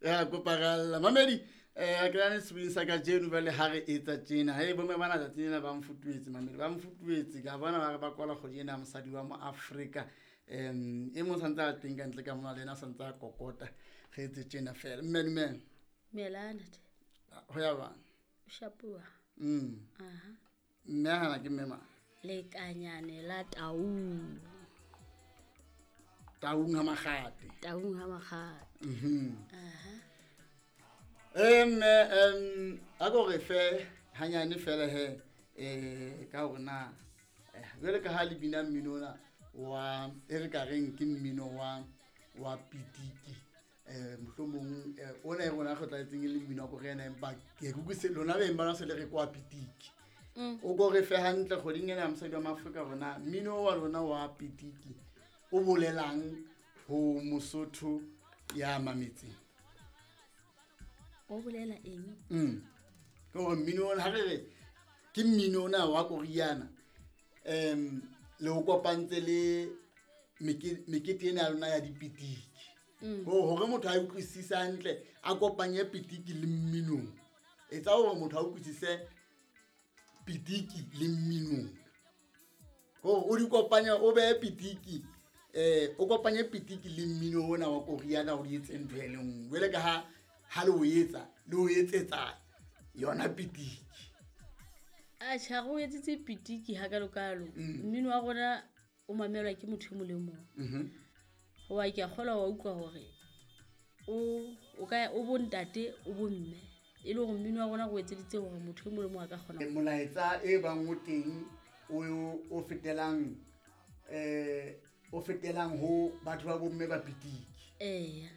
Ya kopa ralla mamedi, ke nane sebeng sa kajeno. Jwale ha re etsa tjena, he bomme bana tsatsing lena ba mfutuetse, mamedi ba mfutuetse ka bona ba re ba kwala kgwedi ena ya mosadi wa mo Afrika. E mong santse a teng ka ntle ka mona, le ena santse a kokota. Re etse tjena fela. Mme dumela. Dumela ntate. Ho ya bang? O shapuwa. Aha. Mme hana ke mme mang? Lekanyane la Taung. Taung ha Makgate. Taung ha Makgate. Aha. Mme a ko re fe hanyane fela he, ka hore na jwale ka ha le bina mmino ona wa e re ka reng ke mmino wa pitiki, mohlomong ona e rona re tlwaetseng e le mmino wa korena, empa ke utlwise lona beng ba se le re kwa pitiki. O ko re fe hantle kgweding ena ya mosadi wa Maafrika rona, mmino wa lona wa pitiki o bolelang ho Mosotho ya mametseng? O bolela eng? Ke hore mmino ona, ha re re ke mmino ona wa koriana, le o kopantse le mekete ena ya lona ya dipitiki. Hore motho a utlwisise hantle, a kopanye pitiki le mminong. Etsa hore motho a utlwisise pitiki le mminong. Hore o di kopanye, o behe pitiki, o kopanye pitiki le mmino ona wa koriana, o di etse ntho e le nngwe. Jwale ka ha le o etsa, le o etsetsa yona pitiki. Atjhe, ha re o etsetse pitiki hakalokalo. Mmino wa rona o mamelwa ke motho e mong le mong. Hoba ke a kgolwa wa utlwa hore o ka o bo ntate, o bo mme. E le hore mmino wa rona re o etseditse hore motho e mong le mong a ka kgona. Molaetsa e bang o teng o fetelang, o fetelang ho batho ba bomme ba pitiki. Eya.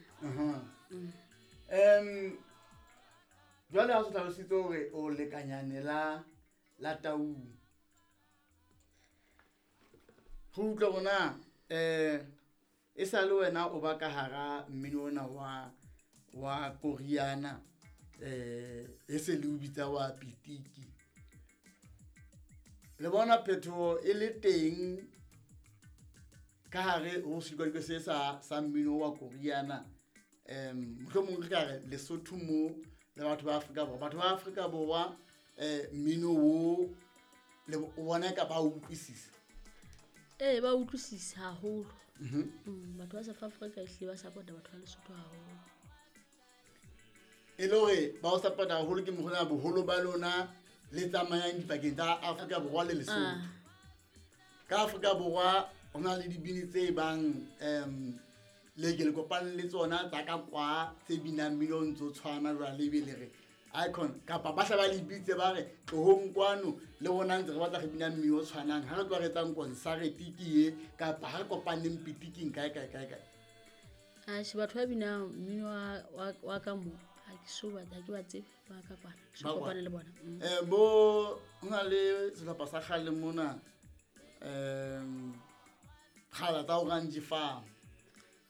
Jwale ha o hlalositse hore o lekanyane la Taung. Re utlwe rona, e sa le wena o ba ka hara mmino ona wa koriana, e se le o bitsa wa pitiki. Le bona phetoho e le teng ka hare ho sedikadikwe se sa mmino wa koriana. Mohlomong re ka re Lesotho mo le batho ba Afrika Borwa. Batho ba Afrika Borwa, mmino o le o bona ka ba utlwisisa? Ee, ba utlwisisa haholo. Batho ba South Africa ehlile ba support-a batho ba Lesotho haholo. E le hore ba o support-a haholo ke mokgwa boholo ba lona le tsamayang dipakeng tsa Afrika Borwa le Lesotho. Ka Afrika Borwa ho na le dibini tse bang, le ke le kopane le tsona tsa ka kwa tse binang mmino o ntso tshwana jwale, ebe le re icon kapa ba hla ba le bitse ba re tlohong kwano le rona ntse re batla re bina mmino o tshwanang, ha re tloha re etsang concert ke ye kapa ha re kopaneng pitiking kae kae kae kae. Atjhe, batho ba binang mmino wa ka mo ha ke so ba, ha ke ba tsebe ba ka kwana. Ke so Ba kopane kwana. le bona. Bo ho na le sehlopha sa kgale mona, kgala tsa Orange Farm.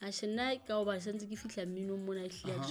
Atjhe, nna ka hoba santse ke fihla mminong mona, ehlile ha ke so